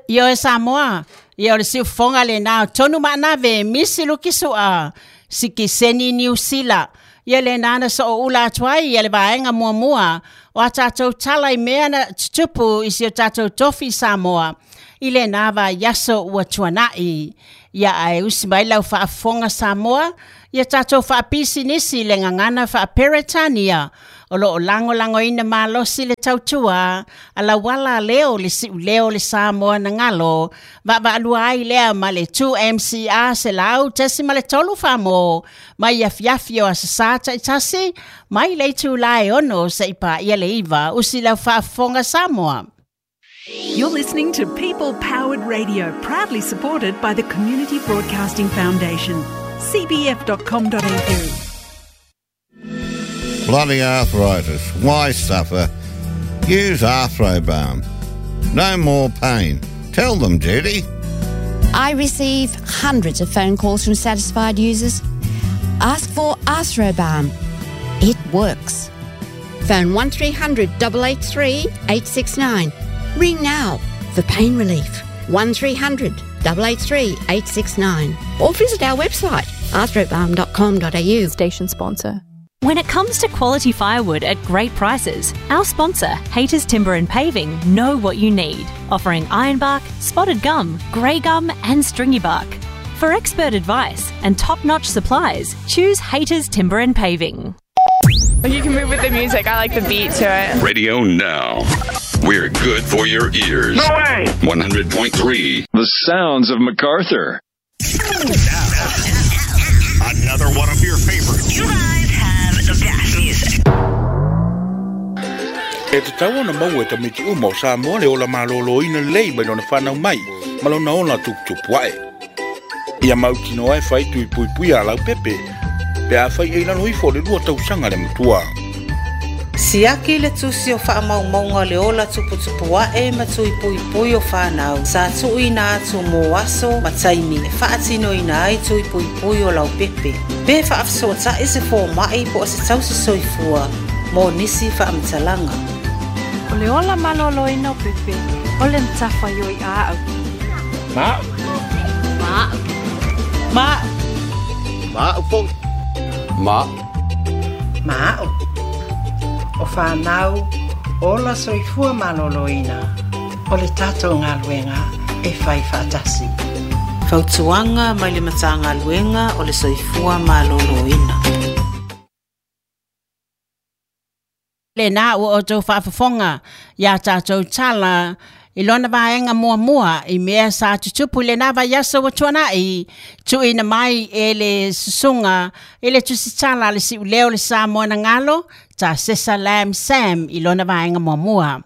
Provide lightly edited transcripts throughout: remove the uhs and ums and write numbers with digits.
Ioe Samoa, ia o le siufofoga lenā o Tonu Maanave, Misi Lukisu'a, Sikiseni Niu Sila. Ia lenā na sooula atu ai ia le vaega muamua o a tatou tala i mea na tutupu i si o tatou tofi i Samoa i lenā vaiaso ua tuana'i. Ia ae usi mai lau faafofoga Samoa, ia tatou faapisinisi i le gagana faa-Peretania o lo o lagolagoina malosi le tautua a lauala leo le siuleo o le Samoa na galo vaavaalua ai lea ma le 2MCR 100.3 Famo mai afiafi o Aso Sa taitasi mai le itulā e 6 seia paia le 9. Usi lau faafofoga Samoa. You're listening to People Powered Radio, proudly supported by the Community Broadcasting Foundation. cbf.com.au. Bloody arthritis. Why suffer? Use Arthrobalm. No more pain. Tell them, Judy. I receive hundreds of phone calls from satisfied users. Ask for Arthrobalm. It works. Phone 1300 883 869. Ring now for pain relief. 1300 883 869. Or visit our website, arthrobalm.com.au. Station sponsor. When it comes to quality firewood at great prices, our sponsor, Hayters Timber and Paving, know what you need, offering ironbark, spotted gum, grey gum, and stringy bark. For expert advice and top notch supplies, choose Hayters Timber and Paving. You can move with the music. I like the beat to it. Radio now. We're good for your ears. No way! 100.3. The sounds of MacArthur. Now, another one of your favorites. You guys have the best music. E tatau ona maua e tamaiti uma o Samoa le ola malōlōina lelei mai lona fanau mai ma lona ola tuputupu ae. Ia mautinoa e fai tui puipuia a laupepe pe afai e i lalo ifo o le 2 tausaga le matua. Siaki le tusi o faamaumauga o le ola tuputupu ae ma tui puipui o fanau sa tuuina atu mo aso ma taimi e faatinoina ai tui puipui o laupepe. Pe faafesootai se fomai po o se tausi soifua mo nisi faamatalaga. O le ola malōlōina o Pepe, o le matafaioi a au. Ma'u. Ma'u. Ma'u. Ma'u fo'i. Ma'u. Ma'u. O fanau, ola soifua malōlōina, o le tatou galuega e fai faatasi. Fautuaga mai le Matagaluega o le Soifua Malōlōina. Lenā ua outou faafofoga iā tatou tala i lona vaega muamua i mea sa tutupu i lenā vaiaso ua tuana'i, tuuina mai e le susuga i le tusitala a le siuleo o le Samoa na galo, Tasesa Lam Sam i lona vaega muamua.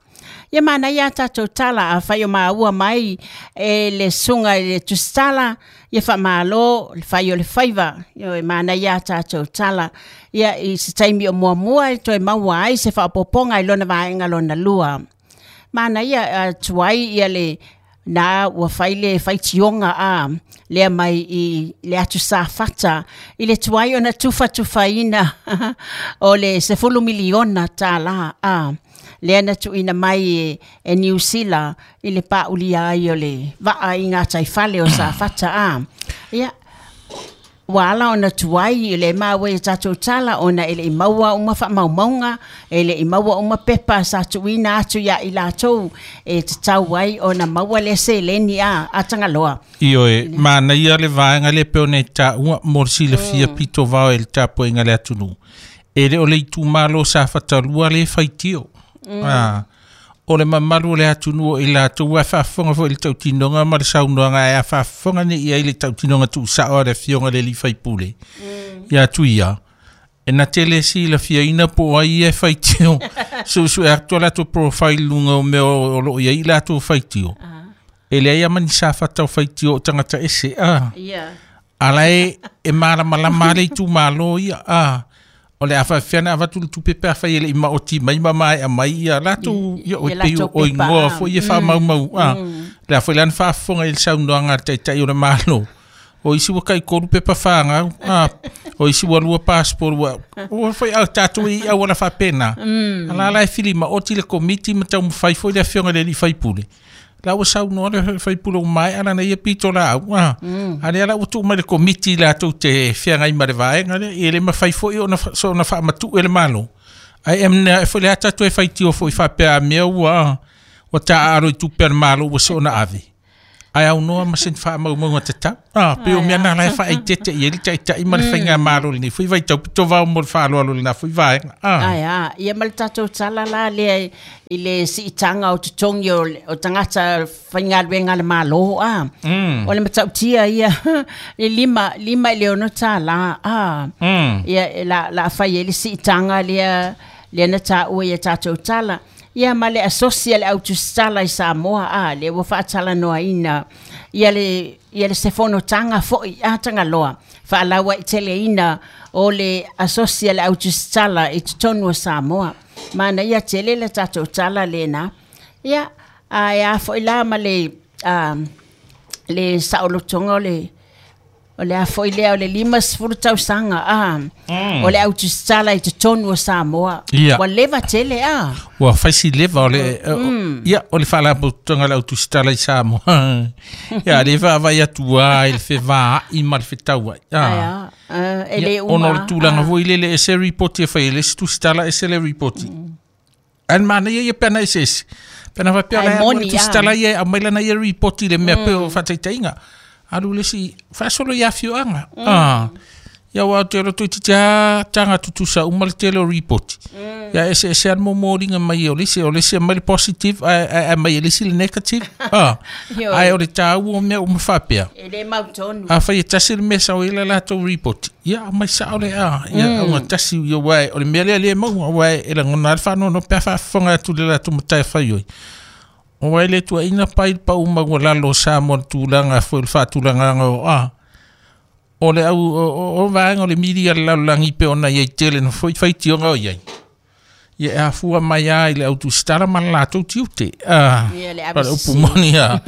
Ia manaia a tatou tala afai o maua mai e le susuga i le tusitala, ia faamalo le fai o le faiva. Ioe, manaia a tatou tala. Ia i se taimi o muamua e toe maua ai se faaopoopoga i lona vaega lona lua. Manaia tuai ia le na ua fai le faitioga a lea mai i le atu Safata i le tuai ona tufatufaina o le $10 miliona a lea na tuuina mai e Niu Sila i le paaulia ai o le vaa i gataifale o Safata a. Ia, ua ala ona tuai i le maua i tatou tala ona e le i maua uma faamaumauga, e le i maua uma pepa sa tuuina atu ia i latou e tatau ai ona maua le seleni a Tagaloa. Ioe, manaia le vaega lea pei ona e taua mo le silafia pito vao e le tapuaiga a le atunuu. E le o le itumalo Safata 2 le faitio. O le mamalu o le atunuu o i latou e faafofoga foi i le tautinoga ma le saunoaga ae a faafofoga nei i ai le tautinoga tuusao a le afioga i le alii faipule. Ia Tuia, e na te le silafiaina po o ai ia e faitio. Suesue atu a latou profile i luga o mea o loo i ai i latou faitio. E leai lava ma ni Safata o faitio o tagata ese. Ala e malamalama le itumalo ia. O le a faafefea ona avatu le tupe pe afai e le i maoti mai ma maea mai ia latou ia o pei o igoa foi e faamaumau a. Le a foi la na faafofoga i le saunoaga a le Taitai o le Malo. O isi ua tai-3 pepa fagau, o isi ua 2 passport ua foi a tatou i auala faapena. Ala la e fili maoti le komiti ma taumafai foi le afioga i le alii faipule. La ua saunoa le sui usufono ua maea lana ia pitolaau, a. A lea la ua tuu mai i le Komiti latou te feagai ma le vaega lea, e le mafai foi ona soona faamatuu e le Malo, ae e mea foi le a tatou e faitio foi faapea a mea ua ua taaalo i tupe a le Malo ua soona ave, ae aunoa ma se faamaumauga tatau. Ah, pei o mea na la e faaeteete i ai le Taitai ma le Faigamalo i lenei foi vaitau pito vao mo le faaaloalo i lena foi vaega. Ah. Ae a, ia ma le tatou tala la lea i le siitaga o totogi o, o tagata faigaluega a le Malo, a. O le matautia ia, le $5 i le $6, a. Ia, la, la fai ai le siitaga lea, lea na taua ia tatou tala. Ia ma le asosi a le au tusitala i Samoa, a, lea ua faatalanoaina ia le, ia le se fonotaga foi a Tagaloa faalauaiteleina o le asosi a le au tusitala i totonu o Samoa. Manaia tele le tatou tala lena. Ia, a e a foi la ma le, a, le saolotoga o le a foi lea o le 50 tausaga a o le au tusitala i totonu o Samoa. Ua leva tele a. Ua fai si leva o le ia o le faalapotopotoga o le au tusitala i Samoa. Ia le vaavaai atu lava i le fevaai ma le fetauai. Ai a, e le uma. Ona o le tulaga foi lele e ese ripoti e fai e le isi tusitala ese le ripoti. Ae manaia ia pe ana eseese. Pe ana faapea o Ae la e alu moni, le tusitala ia e aumai lana ia ripoti i le mea pei o faataitaiga. Alu le isi faasolo i afioaga. Ah. Ia aua ou te iloa toeitiiti lava taga tutusa uma le tele o ripoti. Ia eseese lava le momoliga mai o le isi, o le isi aumai le positive ae ae aumai e le isi le negative. Ah. Ae o le taua o mea uma faapea. E le mautonu. Afai e tasi le mea e sau ai le latou ripoti, ia aumai sao le a, ia augatasi ia aua o le mea lea le maua aua e lagona lava le faanoanoa pe a faafofoga atu i le latou matafaioi. Aua e le tuuaiina pai le pau maualalo o Samoa i le tulaga foi o le faatulagaga o a o le au o vaega o le media a le lalolagi pei ona i ai tele na foi faitioga o i ai. Ia e afua mai lava i le au tusitala ma le latou tiute. Ah, Ia, le o ave le upu sese. moni a.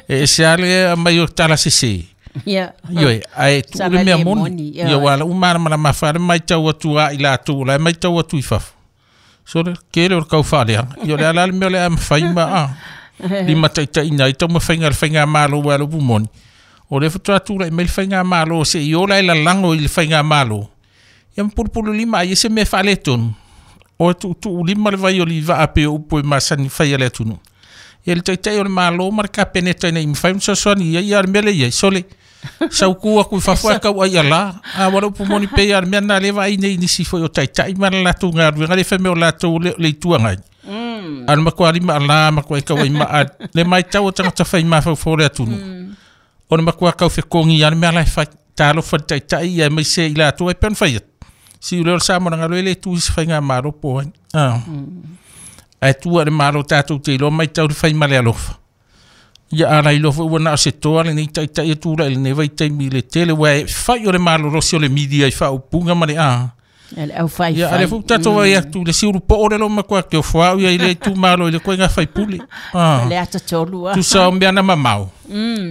E ese lava le aumai o tala sese. Ioe, ae tuu Sala le mea le moni. moni, Ia aua o lau malamalama foi lava le matau atu a i latou o la e matau atu i fafo. Sole, tele o le tau faaleaga. Ia o le a la le mea o le a mafai ma a limataitaiina ai taumafaiga a le faigamalo aua o le upu moni. O lea faatoa tulai mai le faigamalo seia ola e lalago i le faigamalo. Ia ma pulupululima ai e se mea faaletonu. O e tuutuulima le vai o le vaa pei o upu e masani fai a le atunuu. Ia le Taitai o le Malo ma le Kapeneta ina ia mafai ona fesoasoani i ai, a o le mea lea e i ai, sole, sauku atu i fafo ae tau ai ala. A ua le upu moni pei lava o le mea lena lea e vaai nei i nisi foi o Taitai ma le latou galuega lea e fai mai o latou le le Itu Agai. A o le matua lima ala matua e tau ai maa le matau a tagata fai mafaufau o le atunuu. O le matua tau fetogi lava le mea la e fai. Talofa i le Taitai ia aemaise i latou e pei ona fai atu. Siu lea o le Samoa leaga e le tu i se faigamalo po o ai. Ae tua i le Malo tatou te iloa matau le fai ma le alofa. Ia a lailoa foi ua na o se toa lenei Taitai e tulai i lenei vaitaimi i le tele aua e fai o le malolosi o le media i faaupuga ma le a. Ia le aufaifai. Ia a lea foi ua tatou vaai atu i le siulupoo lea lo matua te ofo au ia i le itumalo i le koiga faipule. Le ata tolu a. Tusa o mea na mamao.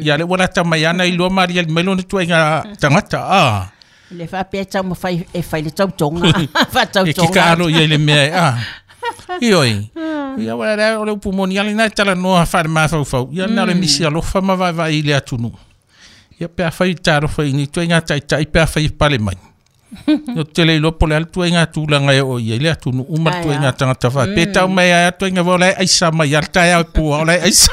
Ia lea ua lata mai ana iloa maaliali mai lona tuaiga tagata. Le faapea e taumafai e fai le tautoga. E Faatautoga. kika alo ia i le mea e a. Ioe. Ia ua lea o le upu moni ala ina e talanoa faale-mafaufau. Ia na o le misi alofa ma vaevae i le atunuu. Ia pe afai talofa i ni tuaiga taitai pe afai e pale mai. Ia ou te le iloa po o le a le tuaiga tulaga e oo i ai le atunuu ma le Ai, tuaiga a. tagata faapea. Pe tau mai ai a tuaiga o la e aisa mai lava le taeao e pua o la e aisa.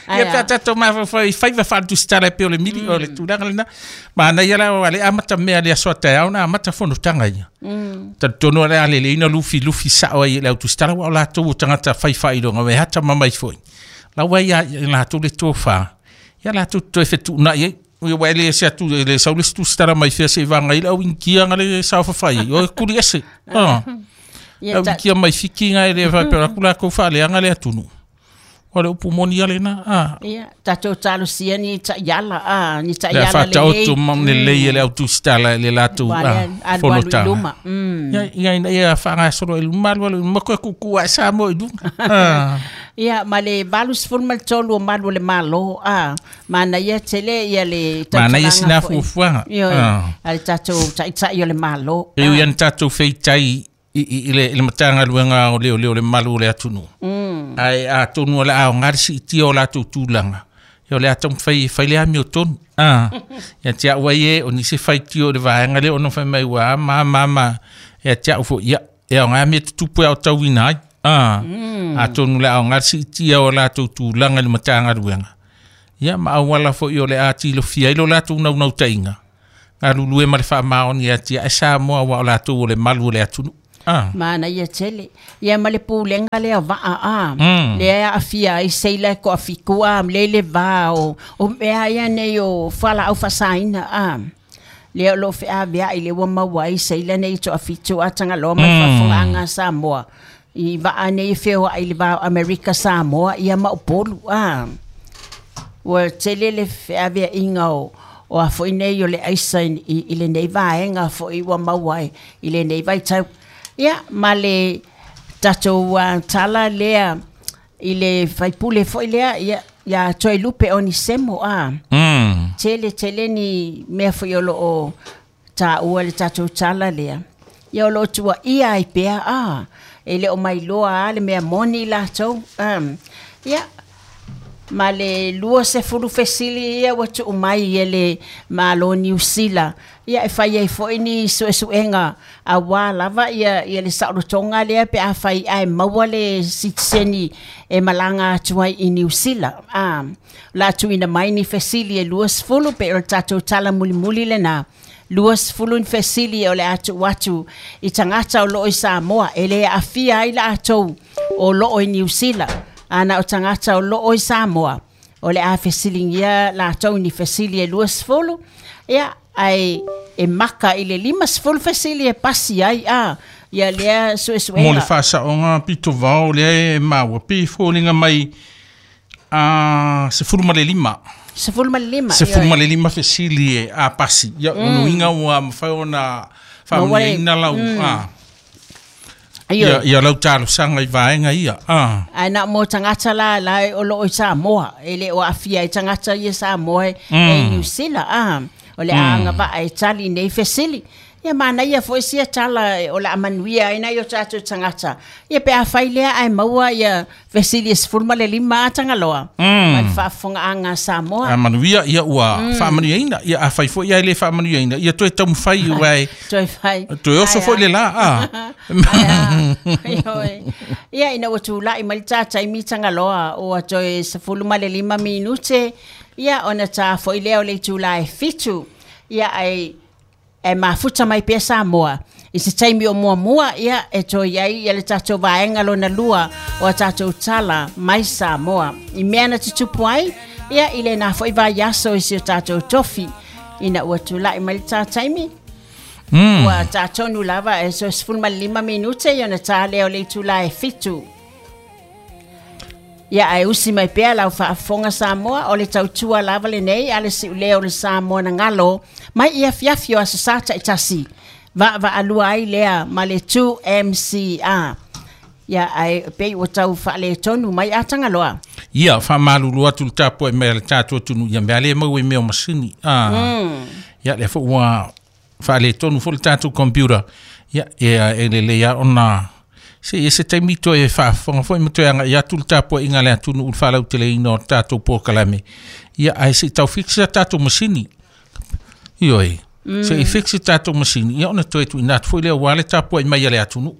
Ai, Ia pe a. a tatou mafaufau i faiva faaletusitala e pei o le mili o le tulaga lena. Manaia la ua le amata mea i le aso a taeao na amata fonotaga ia. Talitonu o le a lelei ona lufilufi sao ai e le au tusitala aua o latou o tagata fai faailoga e atamamai foi. La ua ia i latou le tofa. Ia latou te toe fetuunai ai. Ia ua e le ese atu e le sau le isi tusitala mai fea seia vaga ai le au inikia na le saofafai ai. O e kuli ese. Ia, Au inikia mai Fiti na e le faapea atu latou faaleaga le atunuu. O le upu moni ia lena. Ia, tatou talosia ni taiala, a, ni Le taiala faataoto ma lelei e le au tusitala i le latou Ua lea, alualu i fonotaga. luma. Ia, ia ina ia faagasolo i luma alualu i luma koe kuku ae Samoa i luga. Ia, ma le 83 o malu o le Malo, a, manaia tele ia le Manaia tautalaga sina foi. fuafuaga. Ioe, a le tatou taitai o le Malo. E ui ana tatou feitai i le Matagaluega o Leoleo le malu o le atunuu. Ae atonu o le aoga le siitia o latou tulaga, ia o le a taumafai e fai le amiotonu. Ia te au ai e, o nisi faitio i le vaega lea ona fai mai ua a ma ma ma. Ia te au foi, ia, e aoga mea tutupu e aotauina ai. Atonu o le aoga le siitia o latou tulaga i le Matagaluega, ia ma auala foi o le a tilofia ai lo latou naunautaiga, galulue ma le faamaoni ia te Samoa aua o latou o le malu o le atunuu. Manaia tele. Ia ma le pulega lea vaa a. Lea e aafia ai seila e toafitu a, le le va o mea ia nei o fualaau faasaina a. Lea o loo feaveai le ua maua ai seila nei toafitu a Tagaloa mai faafofogaaga a Samoa. I vaa nei e feoai i le va o Amerika Samoa ia ma Upolu a. Ua tele le feaveaiga o a foi nei o le aisa i lenei vaega foi ua maua ai i lenei vaitau. Ia, ma le tatou tala lea i le faipule foi lea, ia, ia Toelupe Onisemo a. Tele tele ni mea foi o loo taua le tatou tala lea. Ia o loo tuuaia ai pea a. E le o mailoa a le mea moni latou. Ia, ma le 20 fesili ia ua tuu mai e le Malo Niu Sila. Ia e fai ai foi ni suesuega aua lava ia le saolotoga lea pe afai ae maua le sitiseni e malaga atu ai i Niu Sila. O le a tuuina mai ni fesili e 20 pe o le tatou tala mulimuli lena. 20 ni fesili o le a tuu atu i tagata o loo i Samoa e le aafia ai latou o loo i Niu Sila. Ana o tagata o loo i Samoa o le a fesiligia latou ni fesili e 20. Ia, ai e maka i le 50 fesili e pasi ai a ia lea suesuega. Mo le faasaoga pito vao lea e maua pe foliga mai a 15. 15. 15 fesili e a pasi. Ia, mm. Ua mafai ona faamanuiaina lau ia lau talosaga i vaega ia. Ae na mo tagata la la o loo i Samoa e le o aafia ai tagata ia Samoa e Niu Sila a. O le a agavaa e tali nei fesili. Ia manaia foi sia tala o le a manuia ai nai o tatou tagata. Ia pe afai lea ae maua ia fesili e 15 a Tagaloa. Ma le faafofogaaga a Samoa. A manuia ia ua faamanuiaina. Ia afai foi ia e le faamanuiaina, ia toe taumafai ua e toe fai. Toe oso foi le la. Ia ina ua tulai mai le taimi Tagaloa ua toe 15 minute. Ia ona ta foi lea o le itula e 7. Ia ai e mafuta mai pea Samoa. I se taimi o muamua, ia e toe ai ia le tatou vaega lona lua o a tatou tala mai Samoa. I mea na tutupu ai, ia i lena foi vaiaso i si o tatou tofi. Ina ua tulai mai le tā taimi. Ua tā tonu lava e so 15 minute ia na tā lea o le itula e 7. Ia ae usi mai pea lau faafofoga Samoa o le tautua lava lenei a le siuleo o le Samoa na galo mai ia afiafi o aso Sa taitasi. Vaavaalua ai lea ma le 2MCR. Ia ae pei ua tau faaletonu mai a Tagaloa. Ia faamalulu atu le tapuai mai a le tatou atunuu ia mea le maua i mea o masini. Ia lea foi ua faaletonu foi le tatou computer. Ia e lelei a ona se i se taimi toe faafofoga foi ma toe agai atu le tapuaiga a le atunuu i le faalauteleina o le tatou polokalame. Ia ae se i tau fix a tatou masini. Ioe. Se i fix tatou masini, ia ona toe tuuina atu foi lea aua le tapuai mai a le atunuu.